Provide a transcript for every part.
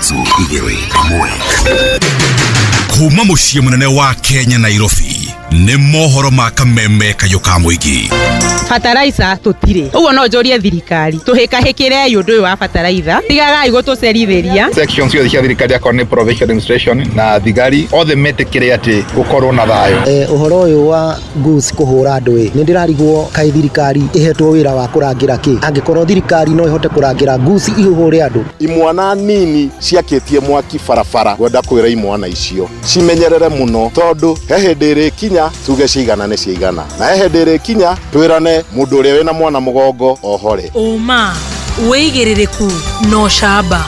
3, 2, 1. Kuma muciĩ mũnene wa Kenya Nairobi nĩ mohoro ma kameme kayũ ka mũingĩ. Bataraitha tũtirĩ, ũguo no njũrie thirikari tũhĩkahĩkĩrei ũndũ ũyũ wa bataraitha, tigagai gũtũcerithĩria. Section ciothe cia thirikari akorwo nĩ provincial administration na thigari othe metĩkĩre atĩ gũkorwo na thayũ. Ũhoro ũyũ wa goose kũhũra andũ ĩ, nĩ ndĩrarigwo kaĩ thirikari ĩhetwo wĩra wa kũrangĩra kĩ, angĩkorwo thirikari no ĩhote kũrangĩra goose ihũre andũ. Imwana nini ciakĩtie mwaki barabara, ngwenda kwĩra imwana icio cimenyerere mũno, tondũ he hĩndĩ ĩrĩkinya tuge ciigana nĩ ciigana, na he hĩndĩ ĩrĩkinya twĩrane mũndũ ũrĩa wĩna mwana mũgongo ohore. Ũma, wĩigĩrĩrĩku na ũcamba.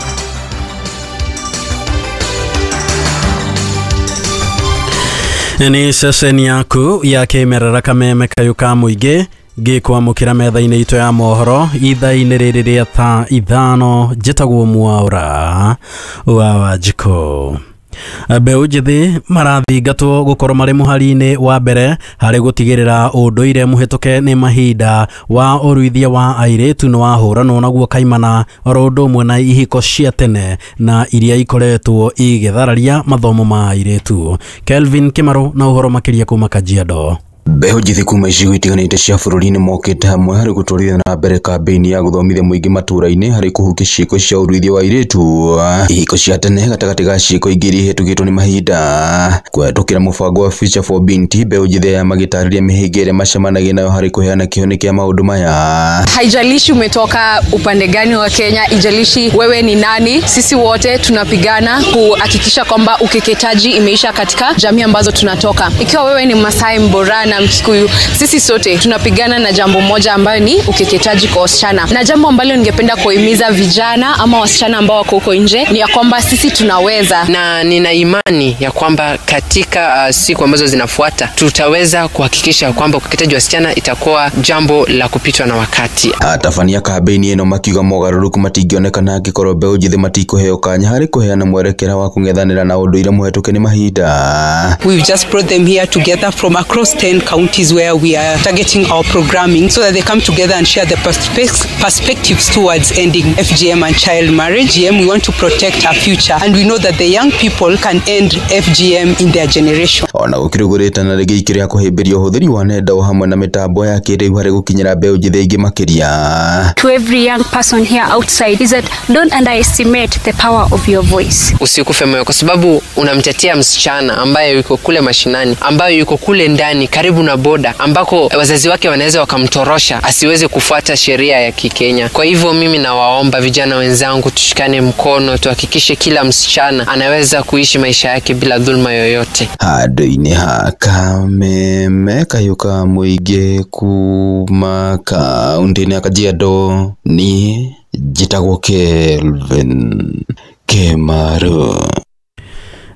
Nĩ ceceni yaku ya kĩmerera kameme kayũ ka mũingĩ ngĩkwamũkĩra metha-inĩ itũ ya mohoro ithaa-inĩ rĩrĩ rĩa thaa 5. Njĩtagwo Mwaura wa Wanjikũ. Mbeũ njĩthĩ marathingatwo gũkorwo marĩ mũhari-inĩ wa mbere harĩ gũtigĩrĩra ũndũire mũhĩtũke nĩ mahinda wa ũruithia wa airĩtu nĩ wahũranwo naguo kaimana, oro ũndũ ũmwe na ihiko cia tene na iria ikoretwo igĩthararia mathomo ma airĩtu. Kelvin Kimaru na ũhoro makĩria kuma Kajiado. Mbeũ njĩthĩ kuma icigo itiganĩte cia bũrũri nĩ mokĩte hamwe harĩ gũtwarithia na mbere kambĩini ya gũthomithia mũingĩ matũũra-inĩ harĩ kũhukia ciĩko cia ũruithia wa airĩtu, ihiko cia tene gatagatĩ ga ciĩko ingĩ iria ihĩtũkĩtwo nĩ mahinda. Kũhetũkĩra mũbango wa Future for Binti, mbeũ njĩthĩ aya magĩtarĩria mĩhĩnga ĩrĩa macemanagia nayo harĩ kũheana kĩhonia kĩa maũndũ maya. Haijalishi umetoka upande gani wa Kenya, ijalishi wewe ni nani, sisi wote tunapigana kuhakikisha kwamba ukeketaji imeisha katika jamii ambazo tunatoka. Ikiwa wewe ni Masai, Mborana, Mkikuyu, sisi sote tunapigana na jambo moja ambayo ni ukeketaji kwa wasichana. Na jambo ambalo ningependa kuhimiza vijana ama wasichana ambao wako huko nje ni ya kwamba sisi tunaweza. Na nina imani ya kwamba katika siku ambazo zinafuata tutaweza kuhakikisha kwamba ukeketaji wa wasichana itakuwa jambo la kupitwa na wakati. Atabania kambĩini ĩno makiuga mogarũrũku matingĩonekana angĩkorwo mbeũ njĩthĩ matikũheo kanya harĩ kũheana mwerekera wa kũng'ethanĩra na ũndũire mũhetũke nĩ mahinda. We've just brought them here together from across 10 counties where we are targeting our programming so that they come together and share their perspectives towards ending FGM and child marriage. We want to protect our future, and we know that the young people can end FGM in their generation. Ona gũkĩrĩ ũguo rĩtana rĩngĩ ikĩrĩa kũhĩmbĩria ũhũthĩri wa nenda o hamwe na mĩtambo ya kĩrĩu harĩ gũkinyĩra mbeũ njĩthĩ aingĩ makĩria. To every young person here outside is that don't underestimate the power of your voice. Usikufe moyo kwa sababu unamtetea msichana ambaye yuko kule mashinani, ambaye yuko kule ndani karibu na boda ambako wazazi wake wanaweza wakamtorosha asiweze kufuata sheria ya Kikenya. Kwa hivyo mimi nawaomba vijana wenzangu tushikane mkono, tuhakikishe kila msichana anaweza kuishi maisha yake bila dhulma yoyote. Handũ-inĩ ha kameme kayũ ka mũingĩ kuma kaũntĩ-inĩ ya Kajiado, niĩ njĩtagwo Kelvin Kimaru.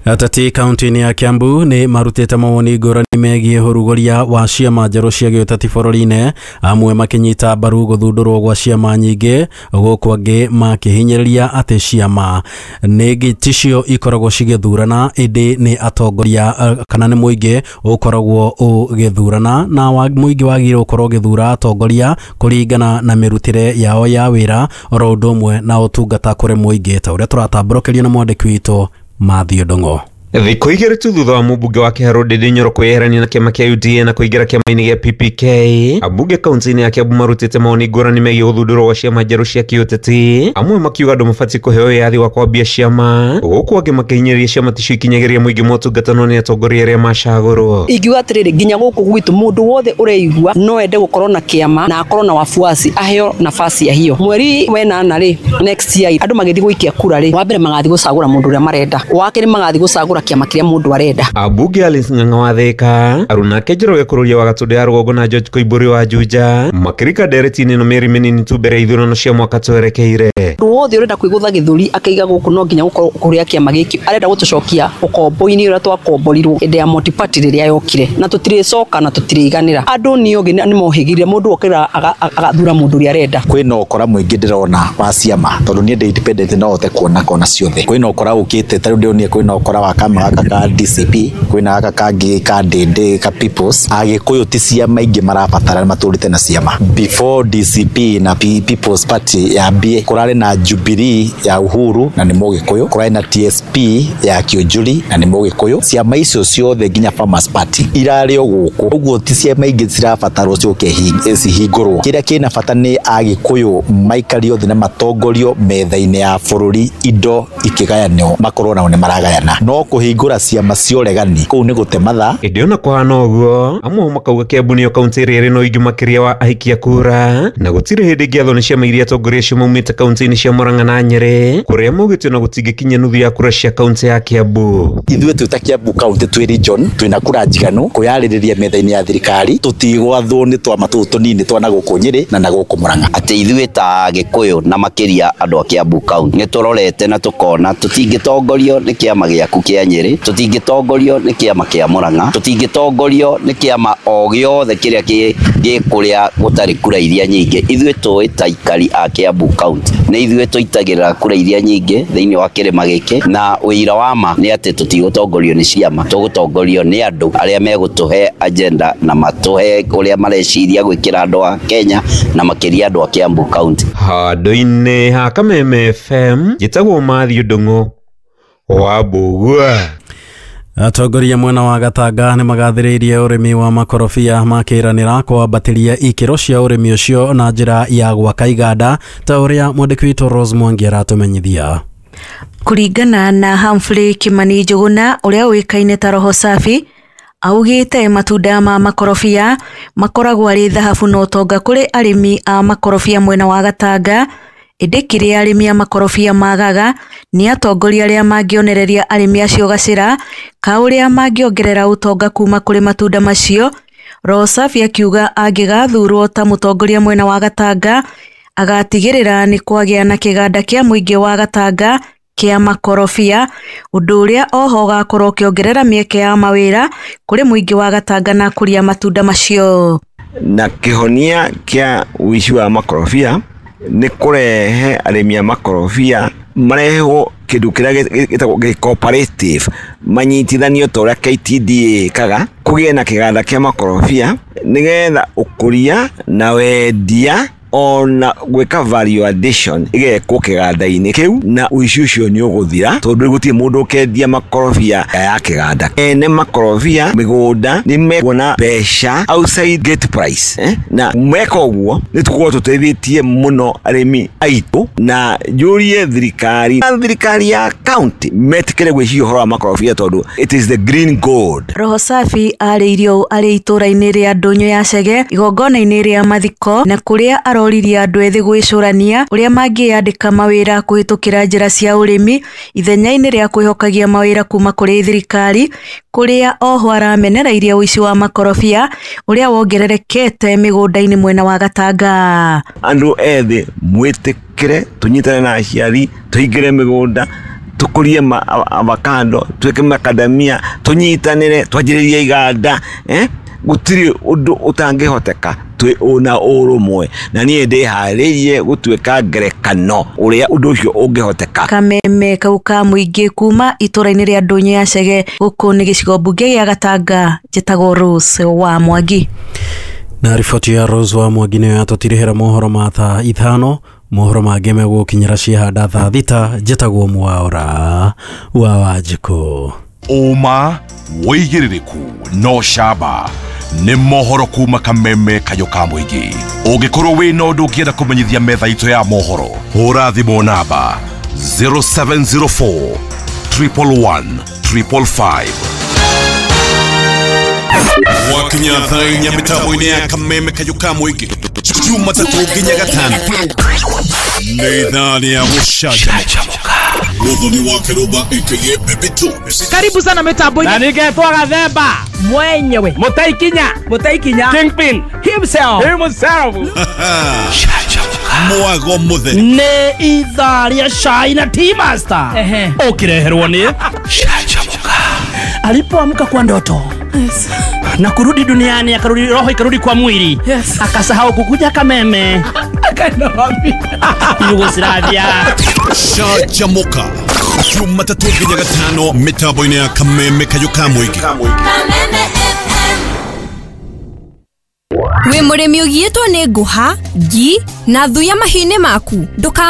Ateti kaunti-inĩ ya Kiambu nĩ marutĩte mawoni ngũrani megiĩ ũrugũria wa ciama njerũ cia gĩũteti bũrũri-inĩ, amwe makĩnyita mbaru gũthundũrwo gwa ciama nyingĩ, gũkũ angĩ makĩhinyĩrĩria atĩ ciama nĩ ticio ikoragwo cigĩthurana, ĩndĩ nĩ atongoria kana nĩ mũingĩ ũkoragwo ũgĩthurana, na mũingĩ wagĩrĩirwo gũkorwo ũgĩthura atongoria kũringana na mĩrutĩre yao ya wĩra oro ũndũ ũmwe na ũtungata kũrĩ mũingĩ, ta ũrĩa tũratambũrũkĩrio nĩ mwandĩki witũ Mathew Ndung'u. Thikũ igĩrĩ tu thutha wa mũmbunge wa Kĩharũ Ndindi Nyoro kwĩyeherania na kĩama kĩa UDA na kũingĩra kĩama-inĩ gĩa PPK, ambunge kaunti-inĩ ya Kiambu marutĩte mawoni ngũrani megiĩ gũthundũrwo gwa ciama njerũ cia kĩũteti, amwe makiuga andũ mabatiĩ kũheo wĩyathi wa kwambia ciama, gũkũ angĩ makĩhinyĩrĩria ciama ticio ikinyagĩria mũingĩ motungata no nĩ atongoria arĩa macagũrwo. Ingiuga atĩrĩrĩ, nginya gũkũ gwitũ mũndũ wothe ũreigua no ende gũkorwo na kĩama na akorwo na wafuasi, aheo nafasi ya hiyo. Mweri wenana rĩ, next year andũ magĩthiĩ gũikia kura rĩ, wa mbere magathiĩ gũcagũra mũndũ ũrĩa marenda, wa kerĩ magathiĩ gũcagũra kĩama kĩrĩa mũndũ arenda. Ambunge Alice Ng'ang'a wa Thika, Arunake Njoroge Kururia wa Gatũndũ ya Rũgongo na George Koimbũri wa Juja makĩrika ndereti-inĩ ĩno mĩeri mĩnini tu mbere ya ithurano cia mwaka twerekeire. Mũndũ wothe ũrenda kwĩgũtha gĩthũri akaiga gũkũ no nginya gũkorwo kũrĩa kĩama gĩkĩ arenda gũtũcokia ũkombo-inĩ ũrĩa twakomborirwo hĩndĩ ya multi-party rĩrĩa yokire, na tũtirĩcoka na tũtirĩiganĩra. Andũ nĩ ogĩ nĩ mohĩgire, mũndũ okĩra agathura mũndũ ũrĩa arenda. Kwĩna ũkora mũingĩ ndĩrona wa ciama, tondũ niĩ ndĩ independent no hote kuona kona ciothe. Kwĩna ũkora ũkĩte, ta rĩu ndĩronire kwĩna ũkora wa kama gaka ka DCP, kwĩna gaka kangĩ ka Ndĩndĩ ka Peoples. Agĩkũyũ ti ciama ingĩ marabatara, matũrĩte na ciama. Before DCP na People's Party yambie, kũrarĩ na Jubilee ya Uhuru na nĩ Mũgĩkũyũ, kũrarĩ na TSP ya Kĩũnjũri na nĩ Mũgĩkũyũ. Ciama icio ciothe nginya Farmers Party irarĩ o gũkũ, ũguo ti ciama ingĩ cirabatarwo ciũke cihingũrwo. Kĩrĩa kĩna bata nĩ Agĩkũyũ maikario thĩ na matongorio metha-inĩ ya bũrũri, indo ikĩgayanio makorwo nao nĩ maragayana. No kũhingũra ciama cia ũregani kũu nĩ gũte mathaa. Ĩndĩ ona kũhana ũguo, amwe makauga Kiambu nĩyo kaunti ĩrĩa ĩrĩ na ũingĩ makĩria wa ahikia kura, na gũtirĩ hĩndĩ ĩngĩathwo nĩ ciama iria atongoria acio maumĩte kaunti-inĩ cia Murang'a na Nyĩrĩ, kũrĩa maugĩte ona gũtingĩkinya nuthu ya kura cia kaunti ya Kiambu. Ithuĩ twĩ ta Kiambu kaunti twĩ region, twĩna kura njiganu kwĩyarĩrĩria metha-inĩ ya thirikari, tũtigwathwo nĩ twama tũtũ tũnini twa na gũkũ Nyĩrĩ na na gũkũ Murang'a. Atĩ ithuĩ ta Gĩkũyũ na makĩria andũ a Kiambu kaunti nĩ tũrorete na tũkona tũtingĩtongorio nĩ kĩama gĩaku kĩa Nyĩrĩ, tũtingĩtongorio nĩ kĩama kĩa Murang'a, tũtingĩtongorio nĩ kĩama o gĩothe kĩrĩa gĩ kũrĩa gũtarĩ kura iria nyingĩ. Ithuĩ tũĩ ta aikari a Kiambu kaunti nĩ ithuĩ tũitagĩrĩra kura iria nyingĩ thĩinĩ wa kĩrĩma gĩkĩ, na ũira wa ma nĩ atĩ tũtigũtongorio nĩ ciama, tũgũtongorio nĩ andũ arĩa megũtũhe agenda na matũhe ũrĩa mareciria gwĩkĩra andũ a Kenya na makĩria andũ a Kiambu kaunti. Handũ-inĩ ha Kameme FM, njĩtagwo Matthew Ndung'u wa Mbũgua. Atongoria mwena wa Gatanga nĩ magathĩrĩirie ũrĩmi wa makorobia, makĩranĩra kwambatĩria ikĩro cia ũrĩmi ũcio na njĩra ya gwaka iganda, ta ũrĩa mwandĩki witũ Rose Mwangi aratũmenyithia. Kũringana na Humphrey Kimani Njuguna ũrĩa ũĩkaine ta Roho Safi, augĩte matunda ma makorobia makoragwo arĩ thahabu na ũtonga kũrĩ arĩmi a makorobia mwena wa Gatanga. Ĩndĩ kĩrĩa arĩmi a makorobia magaga nĩ atongoria arĩa mangĩonereria arĩmi acio gacĩra ka ũrĩa mangĩongerera ũtonga kuma kũrĩ matunda macio. Roho Safi akiuga angĩgathurwo ta mũtongoria mwena wa Gatanga, agatigĩrĩra nĩ kwagĩa na kĩganda kĩa mũingĩ wa Gatanga kĩa makorobia, ũndũ ũrĩa oho ũgakorwo ũkĩongerera mĩeke ya mawĩra kũrĩ mũingĩ wa Gatanga na kũrĩa matunda macio. Na kĩhonia kĩa ũici wa makorobia nĩ kũrehe arĩmi a makorobia marehwo kĩndũ kĩrĩa gĩtagwo cooperative, manyitithanio ta ũrĩa KTDA ĩkaga, kũgĩe na kĩganda kĩa makorobia nĩgetha ũkũria na wendia ona gwĩka value addition ĩgekwo kĩganda-inĩ kĩu, na ũici ũcio nĩ ũgũthira tondũ gũtirĩ mũndũ ũkendia makorobia ya kĩganda. Ene makorobia mĩgũnda nĩ mekuona mbeca outside gate price, na meka ũguo nĩ tũkorwo tũteithĩtie mũno arĩmi aitũ, na njũrie thirikari na thirikari ya county metĩkĩre gwĩciria ũhoro wa makorobia tondũ it is the green gold. Roho Safi arĩirie ũũ arĩ itũũra-inĩ rĩa Ndũnyũ ya Chege igongona-inĩ rĩa mathiko, na kũrĩa aroririe andũ ethĩ gwĩcũrania ũrĩa mangĩyandĩka mawĩra kũhĩtũkĩra njĩra cia ũrĩmi ithenya-inĩ rĩa kwĩhokagia mawĩra kuma kũrĩ thirikari, kũrĩa oho aramenereirie ũici wa makorobia ũrĩa wongererekete mĩgũnda-inĩ mwena wa Gatanga. Andũ ethĩ mwĩtĩkĩre tũnyitane na aciari, tũhingĩre mĩgũnda, tũkũrie avocado, twĩke macadamia, tũnyitanĩre, twanjĩrĩrie iganda, gũtirĩ ũndũ ũtangĩhoteka twĩ na ũrũmwe, na niĩ ndĩharĩirie gũtuĩka ngerekano ũrĩa ũndũ ũcio ũngĩhoteka. Kameme kau ka mũingĩ kuma itũũra-inĩ rĩa Ndũnyũ ya Chege, gũkũ nĩ gĩcigo mbunge gĩa Gatanga, njĩtagwo Rose wa Mwangi. Na riboti ya Rose wa Mwangi nĩyo yatũtirihĩra mohoro ma thaa 5, mohoro mangĩ megũkinyĩra ciahanda thaa 6. Njĩtagwo Mwaura wa Wanjikũ. Ũma, wĩigĩrĩrĩku no camba nĩ mohoro kuma Kameme kayũ ka mũingĩ. Ũngĩkorwo wĩna ũndũ ũngĩenda kũmenyithia metha itũ ya mohoro, hũra thimũ namba 0704 111 555. Wakinya thaa 4 mĩtambo-inĩ ya Kameme kayũ ka mũingĩ, Jumatatũ nginya Gatano, nĩ ithaa rĩa gũcanjamũka. Muthoni wa Kiruba aka Baby Tubes. Karibu sana mitambo-inĩ. Na ningetwa Gathemba mwenyewe, Mutaikinya Kingpin himself. Mwago mutheri nĩ ithaa rĩa cai na tea master ũkĩreherwo nĩ Canjamũka. Alipoamka kwa ndoto, yes, na kurudi duniani, akarudi roho ikarudi kwa mwili, yes, akasahau kukuja Kameme, akaenda wapi? Yugoslavia. Canjamũka. Jumatatũ nginya gatano mĩtambo-inĩ ya Kameme Kayũ ka Mũingĩ. Wĩ mũrĩmi ũgiĩtwo nĩ ngũha, ngi na thuya mahiũ-inĩ maku? Ndũka